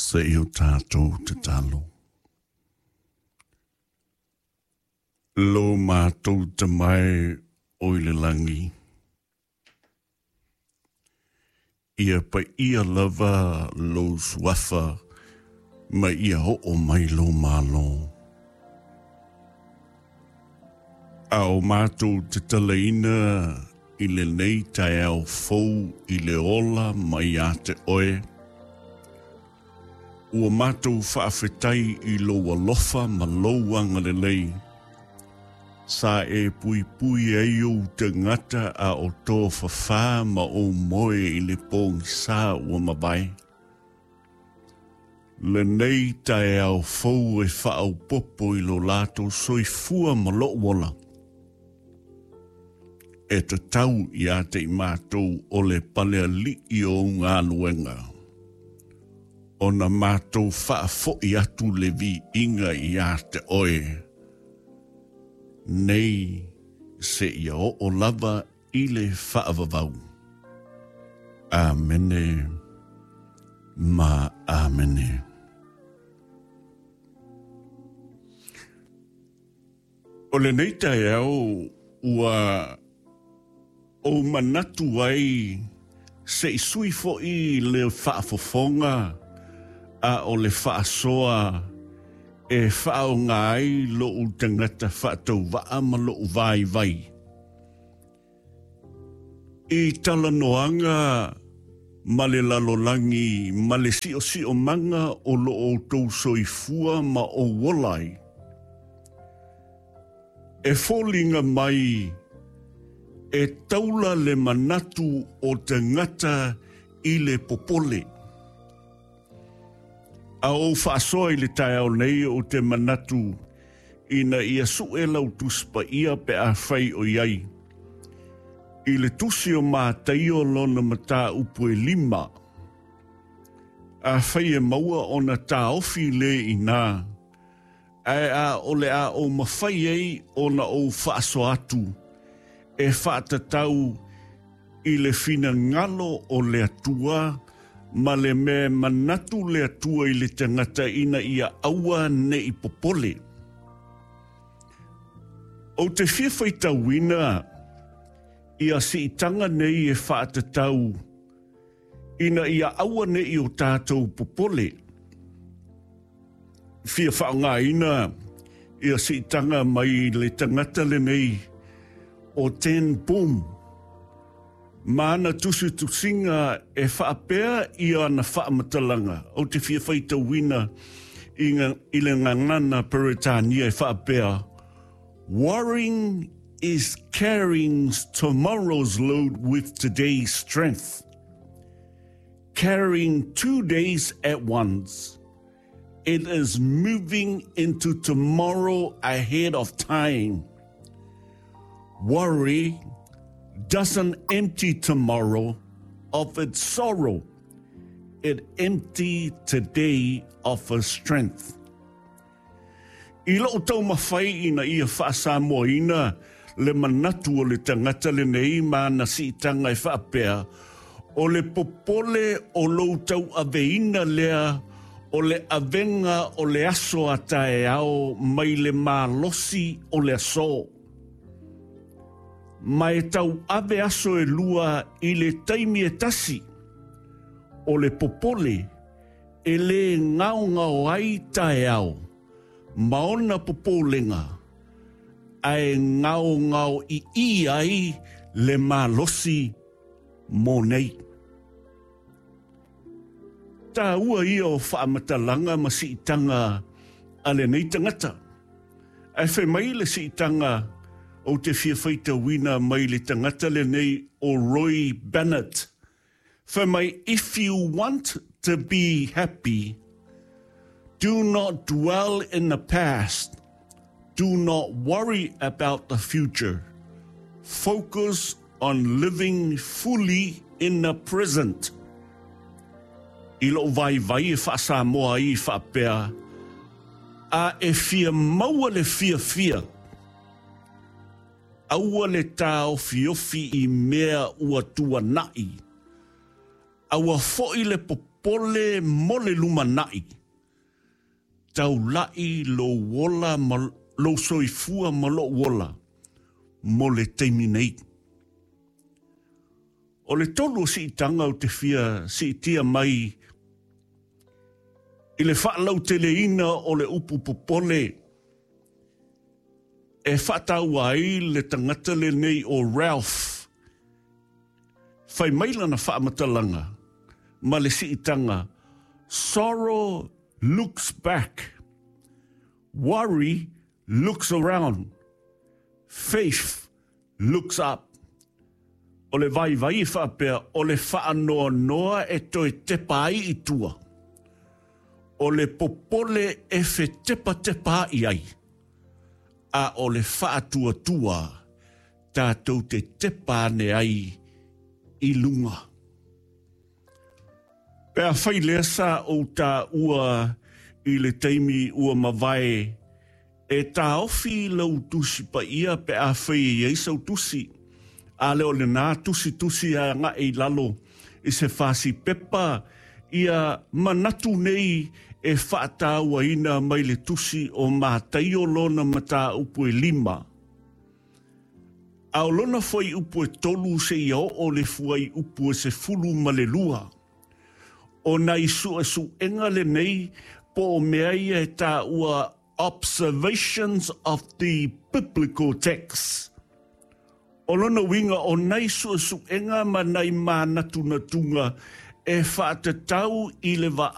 Se i o tātou tatalo. Lo mātou tamae o i le langi. Ia paia lava lou suafa ma ia oo mai lou Malo. A o matou tatalaina i lenei taeao fou i le ola mai ia te oe, ua matou faafetai i lou alofa ma lou agalelei, sa e puipui ai ou tagata a o tofafa ma ou moe i le pogisa ua mavae. Lenei taeao fou e faaopoopo i lo latou soifua ma lou ola. E tatau ia te i matou o le palealii o ou galuega, ona matou faafoi atu le viiga ia te oe, nei seia oo lava i le faavavau. Amene ma Amene. O lenei taeao ua ou manatu ai se i sui foʻi le faafofoga a o le faasoa e faaaoga ai loʻu tagata faatauvaa ma loʻu vaivai. I talanoaga ma le lalolagi ma le siosiomaga o lo outou soifua ma ou ola ai, e foliga mai e taula le manatu o tagata i le popole. A ou faasoa i le taeao nei ou te manatu ina ia sue lau Tusi Paia pe afai o i ai i le Tusi o Mataio lona mataupu e lima. Afai e maua ona taofi le inā, ae a o le a ou mafai ai ona ou faasoa atu e faatatau i le finagalo o le Atua ma le mea e manatu le Atua i le tagata ina ia aua ne i popole. Ou te fia faitauina ia siitaga nei e faatatau ina ia aua ne i o tātou popole. Fia faaaogaina ia siitaga mai le tagata lenei o Ten Boom ma ana tusitusiga e faapea i ana faamatalaga. Ou te fia faitauina i, i le gagana Peretania e faapea, Worrying is carrying tomorrow's load with today's strength. Carrying 2 days at once. It is moving into tomorrow ahead of time. Worry doesn't empty tomorrow of its sorrow. It empty today of its strength. I lou taumafai ina ia faasamoaina le manatu o le tagata lenei ma ana siitaga e faapea, o le popole o lou tauaveina lea o le avega o le aso a taeao mai le malosi o le aso. Ma e tauave aso e lua i le taimi e tasi, o le popole e lē gaogao ai taeao ma ona popolega, ae gaogao iī ai le malosi mo nei. Taua ia o faamatalaga ma siitaga a lenei tagata. Ae fai mai le siitaga ou te fia faitauina mai le tagata lenei o Roy Bennett. Fai mai, if you want to be happy, do not dwell in the past. Do not worry about the future. Focus on living fully in the present. I lou vaivai e faasamoa ai e faapea, a e fia maua le fiafia, aua le taofiofi i mea ua tuanai, aua foʻi le popole. popole mo le lumanai, taula'i lou ola ma lou soifua ma lo'u ola mo le taimi nei. O le tolu o siitaga ou te fia siitia mai i le faalauteleina o le upu popole e faataua ai le tagata lenei o Ralph. Fai mai lana faamatalaga ma le siitaga, Sorrow looks back, worry looks around, faith looks up. O le vaivai e faapea, o le faanoanoa e toe tepa ai i tua. O le popole e fetepatepaai ai, a o le faatuatua tatou te tepa ane ai i luga. Pe afai lea sa ou taua i le taimi ua mavae, e taofi lau Tusi Paia pe afai e i ai sau tusi, a le o lenā tusitusi agai i lalo i se fasi pepa ia manatu nei e faatauaina mai le tusi o Mataio lona mataupu e 5. A o lona fuaiupu e 3 seia oo le fuaiupu e 12. O nai suesuega lenei po o mea ia e taua observations of the biblical text. O lona uiga o nai suesuega ma nai manatunatuga e faatatau i le